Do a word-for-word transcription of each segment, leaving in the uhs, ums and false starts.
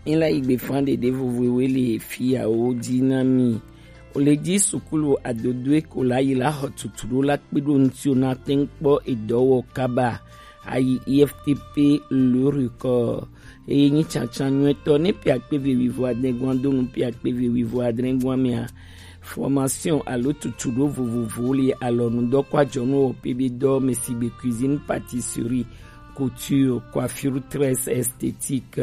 Ela igbe fan ɖeɖe vovoe le fiawo dzi na mi. O le dzi sukulu adodoe ko la yi la xɔ tutu ɖo la kpe ɖo ŋuti o na te ŋu kpɔ edɔ wɔ kaba. Ayi I F T P le record eye nyi tsantsan nyuitɔ ne pia kpe ve wivo adre gwan do nu pia kpe ve wivo adre gwan mea. Formation alo tutu ɖo vovovowo le alɔnudɔ kɔ ajɔnu wɔ pe be dɔ me si be cuisine, pâtisserie, couture, coiffure, tresse, esthétique,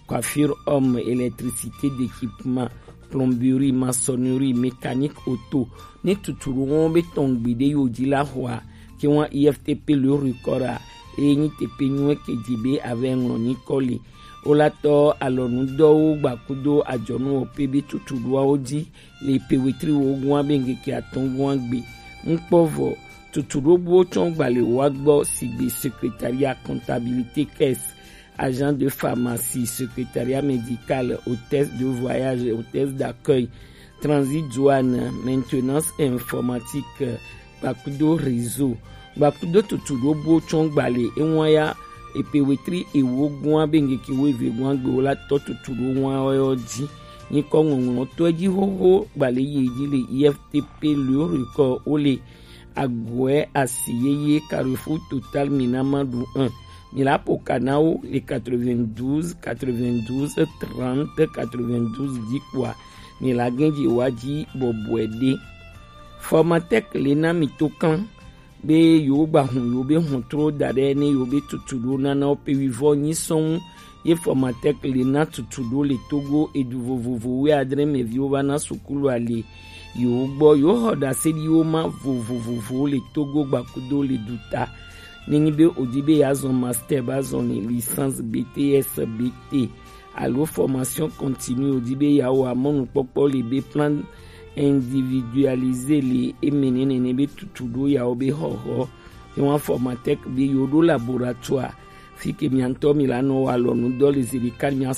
coiffure homme, électricité d'équipement, plomberie, maçonnerie, mécanique auto. Ne tutu ɖo wɔn be tɔn gbeɖe yo dzi la xɔa ke wɔn I F T P le record a eye nyi teƒe nyuie ke dzi be ave ŋlɔ nyikɔ le. Wolatɔ alɔnudɔwo gbakudo ajɔnu wɔ pe be tutu ɖoawo dzi le pe wetri wo gua be ŋkeke atɔ̃ gua gbe. Ŋkpɔ vɔ, tutu ɖo buwo tsɔ gbalẽ wa gbɔ sigbe secrétariat, comptabilité, caisse, agent de pharmacie, secrétariat médical, hôtesse de voyage, hôtesse d'accueil, transit, douane, maintenance informatique, gbakudo réseau, gbakudo tutu ɖo buwo tsɔ gbalẽ ewa ya epe wetri ewo gua be ŋkeke wo eve gua gbe wo la tɔ tutu ɖo wa yɔ dzi. Nyikɔ ŋɔŋlɔ tɔ dzi xoxo gbalẽ yi dzi le I F T P le record wo le Agoɛ asi yeye Carrefour Total Minamadu un. Mi la po ka na wo le quatre-vingt-douze, quatre-vingt-douze, trente, quatre-vingt-douze dzi kpoa mi la gɛn dzi wa dzi bɔbɔe ɖe. Formatec le na mi to kan be yewo gba hun yewo be hɔntro da ɖe ne yewo be tutu ɖo nana wo pe wivɔ nyi sɔn ye Formatec le na tutu ɖo le Togo edu vovovo wi adre me viwo va na sukulu ali yewo gbɔ yewo xɔ ɖase ɖi wo ma vovovovowo le Togo gbakudo le duta. Nenyi be odi be ya zɔn master ba zɔn ni licence B T S, B T alo formation continue odi be ya wɔ amɔnukpɔkpɔ le be plan individualisé le eme nene ne be tutu ɖo yawo be xɔxɔ. Ewa Formatec be yewo ɖo laboratoire fi ke mia ŋutɔ mi la nɔ wɔ alɔnu dɔ le zi ɖeka mia